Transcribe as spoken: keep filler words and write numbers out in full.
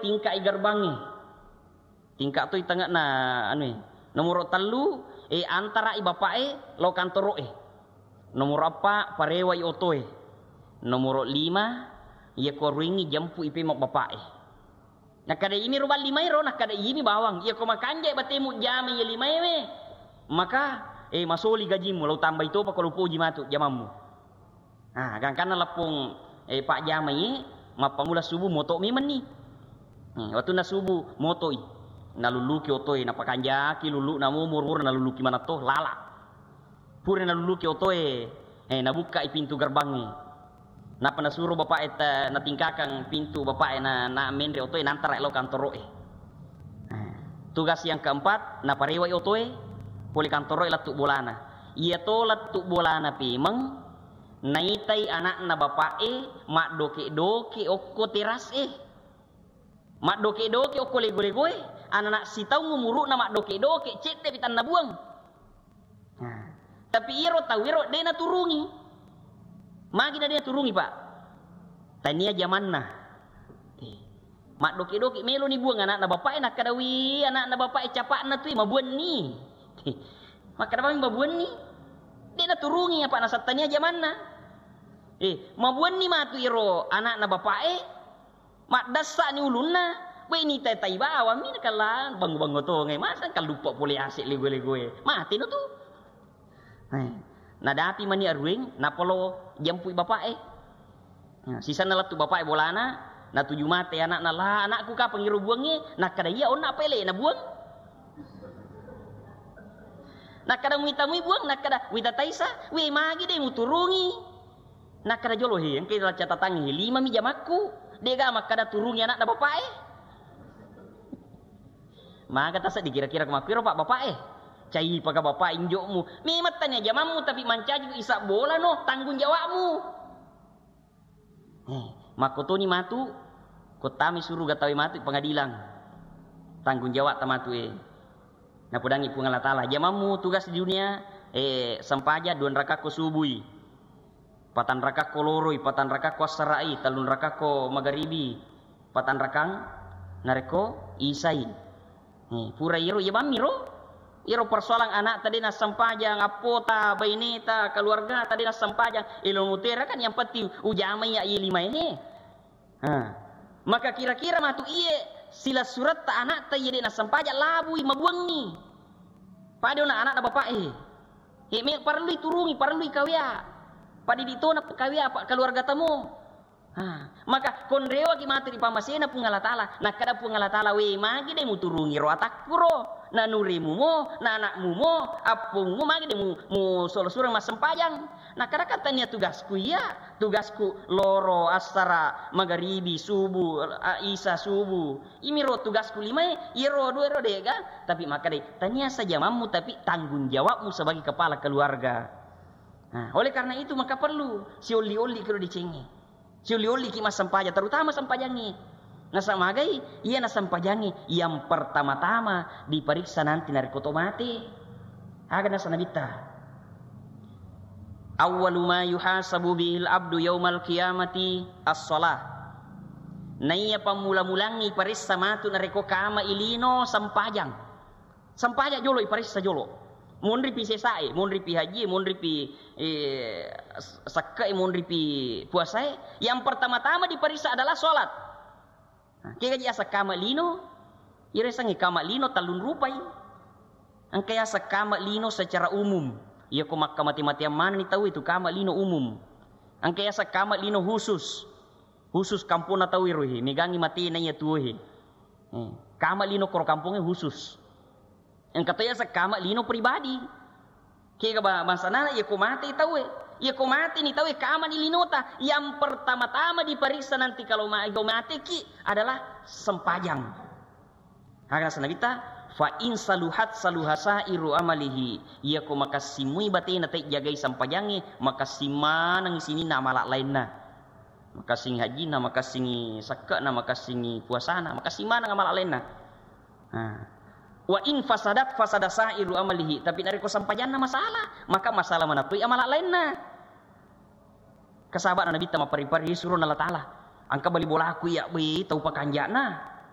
tingka'i garbangnge. Tingka' toi tengngana anu e. Nomoro tellu, e, antara'i bapa'e lao kantoro'e. Nomoro eppa, parewai otoe. Nomoro lima, iyako aruengngi jampu'i pemeng bapa'e. Nakkeda iyami ro bang limae ro, nakkeda iyami bawang. Iyako makanja' batemu jamai iye limaewe, maka, e, masoli gajimu, lao tambai topa ko lo poji matu jamammu. Ah, gangkanna leppong, eh, pajjamai, mappammula subuh moto' memenni. Eh, wettunna subuh moto'i. Nalulluki otoe, napakanjaki lullu'na mo, muru-muru nalulluki manetto, lala. Pura nalulluki otoe, eh, nabukka'i pintu gerbangngé. Nappa nasuro bapa'é ta-, natingkakang pintu bapa'é na, na menre otoe, nantara lao kantoro'é. Eh, tugas yang keempat, naparewai otoe, pole kantoro'é lettu bolana. Iyato lettu bolana pemeng, naitai ana'na bapa'é maddoke-doke okko teras'é. Maddoke-doke okko lego-legoé, anana' sitaung umuru'na maddoke-doke, cedde'pi tannabuang. Nah, tapi iyaro tauéro dé' naturungi. Magi na dé' naturungi, Pak? Tania jamanna. Eh, maddoke-doke meloni buang ana'na bapa'é, nakkeda, "Wi, ana'na bapa'é capa'na tu, mabuanni." Makkeda bawang mabuanni. Dé' naturungi apa nasaba tania jamanna. Eh, mabuanni matu iyaro ana'na bapa'é, maddessa'ni ulunna, wé nitai-tai bawammi nakella bango-bango tongai, masa kalluppa polé ase' lego-legoé. Maténo tu. Eh, nadapi mani arueng, nappa lo jampui bapa'é. Nah, sisenna lettu bapa'é bolana, natuju maté ana'na, "La, ana'ku kapang iro buangngé?" Nakkeda, "Iya, onna apa élé'na buang?" Nakkeda, "Muitamui buang?" Nakkeda, "Wita taisa." "Wé, magi dé' muturungi?" Nakkeda jolo, "Hé, engka ila catatangngi, hé, limami jamakku. Dé'ga makkeda turungi ana'na bapa'é." Maga taseddi kira-kira ko makkuiro, Pak, bapa'é? Caipaka bapak injo'mu. Memang tania jamammu, tapi mancaji isab bolano, tanggung jawabmu. Eh, makkotoni matu, ko tami suruga tauwé matu pengadilan. Tanggung jawab ta matu, eh. Napodangi Puang Allah Taala, jamammu tugas di dunia, eh, sempajang dua rakakko subui. Patang rakakko loroi, patang rakakko assara'i, tellung rakakko magaribi, patang rakang narekko isai. Eh, pura iyaro, iya bammi ro. Iyaro persoalan ana'ta dé' nassempajang, appota, baineta, keluargata dé' nassempajang. Eh, lo mutera kan yang penting ujamai iya limaé. Ha. Maka kira-kira matu iye silessuretta ana'ta iye dé' nassempajang labui mabuangngi. Pada ona ana'na bapa'é. Eh, me parellui turungi, parellui kawéa. Padidi tona kawéa, apa keluarga tamo. Ha, maka konrewaki matu ri pammasena Puang Allah Taala. Nakkeda Puang Allah Taala, "Wé, magi dé' muturungi ro atakkuro? Nanuremu mo, na ana'mu mo, appomu mo, magi dé' mu, mu solo-suro massempajang?" Nakkeda, "Kan tania tugasku iya, tugasku loro, assara, magaribi, subuh, a, isa, subuh. Imiro tugasku limaé, iyaro dua ro dé'ga." Tapi makkedai, "Tania sajamammu, tapi tanggung jawabmu sebagai kepala keluarga." Nah, oleh karena itu maka perlu siolli-olli kiro decengngé. Siolli-olliki massempajang, terutama sempajangngé. Nasaba magai, iya nasempajangngé yang pertama-tama diperiksa nanti narekko to maté. Aga nasaba Nabitta, "Awwalu ma yuhasabu bihil abdu yaumal qiyamati as-shalah." Naiya pammula-mulangngi paressa matu narekko kama ilino sempajang. Sempajang jolo, iparessa jolo. Monripi sesae, monripi hajie, monripi, eh, s-, sekke'e, monripi puasae, yang pertama-tama diparessa adalah sholat. Nah, kega ji aseng kama lino, iresengngi kama lino tellung rupai. Engka yaseng kama lino secara umum. Iyako makkamate-mateang manenni tau itu kama lino umum. Engka yaseng kama lino khusus. Khusus kamponna tau ero he, megangngi matena iya tuo he. Eh, kama lino koro kampongnge khusus. Engka to yaseng kama lino pribadi. Kega ba-, bangsana iyako mate tauwe. Iyako mateni tauwe, kamani linota. Yang pertama-tama diperiksa nanti kalau ma-, iko mateki adalah sempajang. Aga naseng Nabitta, "Fa in saluhat saluha sairu amalihi." Iyako makassimui batena taijagai sempajangnge, makassing maneng sininna amala lainna. Makassingi hajjinna, makassingi sekke'na, makassingi puasana, makassing maneng amala lainna. Nah. Wa in fasadat fasada sairu amalihi, tapi narekko sempajanna masalah, maka masalah manatoi amala lainna. Kasaba'na Nabitta mapparri-parri surona Allah Ta'ala. Engka bali bolaku iya, wé, tau pakanja'na.